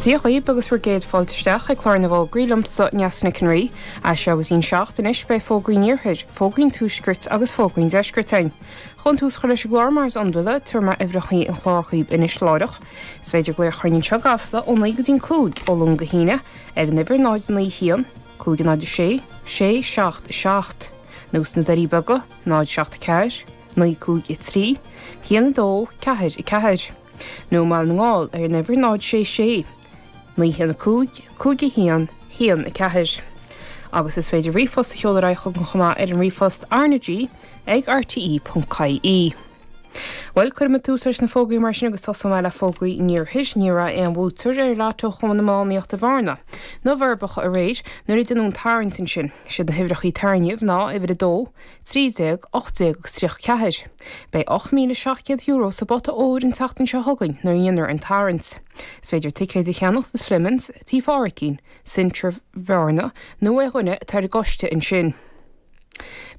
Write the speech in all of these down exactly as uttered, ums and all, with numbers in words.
Dia dhaoibh agus bhur gcéad fáilte isteach ag clár na bhfógraí liomsa Neasa Nic an Rí, as seo go dtí an seacht anois beidh fógraí an iarthair, fógraí an tuaiscirt agus fógraí an deiscirt againn. Chun tús a chur leis an gclár mar is iondúil, tabharfaidh mé uimhreacha an chláir dhaoibh anois láithreach. Is féidir glaoch a chur orainn anseo i gCasla ó naoi go dtí an cúig ó Luan go hAoine ar an uimhir náid naoi haon, cúig náid sé, sé seacht seacht, nó sna Doirí Beaga, náid seacht ceathair, naoi cúig a trí, haon a dó, ceathair a ceathair. Nó i mBaile na nGall ar an uimhir náid sé sé, naoi haon a cúig, cúig a haon, haon a ceathair. Agus is féidir ríomhphost a sheoladh ar aghaidh chugainn chomh maith ar an ríomhphost RnaG ag rte.ie. Bhuel, cuirfidh mé tús leis na fógraí mar sin agus tosóidh mé le fógraí an iarthair. Ní raibh aon bhuaiteoir ar Lotto Chumann Iománaíochta Bhearna ná Fhorbacha aréir nuair a deineadh an tarraingt ansin. Siad na huimhreacha tarraingthe ná uimhir a dó, trí déag, ocht déag agus tríocha ceathair. Beidh ocht míle seacht gcéad euro sa bpota óir an tseachtain seo chugainn nuair a dhéanfar an tarraingt. Is féidir ticéid a cheannacht i Slimmins, Tí Phádraicín, Centra Bhearna nó ó dhuine atá ar an gcoiste ansin.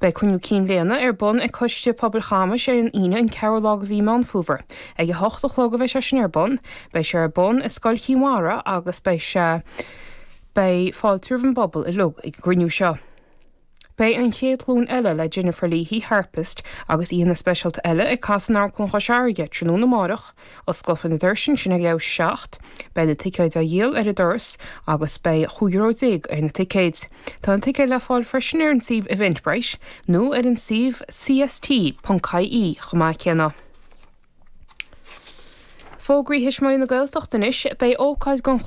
Beidh cruinniú cinn bhliana ar bun ag Coiste Pobail Chamais ar an Aoine an ceathrú lá de mhí Meán Fómhair. Ag a hocht a chlog a bheidh sé sin ar bun, beidh sé ar bun i Scoil Chinn Mhara agus beidh sé beidh fáilte roimh an bpobal uilig ag an gcruinniú seo. Beidh an chéad ghlúin eile le Jennifer Leahy, harpist, agus aíonna speisialta eile ag casadh in Amharclann Chois Fharraige tráthnóna amárach, osclófar na doirse ansin ag leathuair tar éis a seacht, beidh na ticéid á dhíol ar an doras agus beidh chúig euro déag ar na ticéid. Tá na ticéid le fáil freisin ar an suíomh Eventbrite nó ar an suíomh cst.ie chomh maith céanna. Fógraí Thuismitheoirí na Gaeltachta anois, beidh ócáid don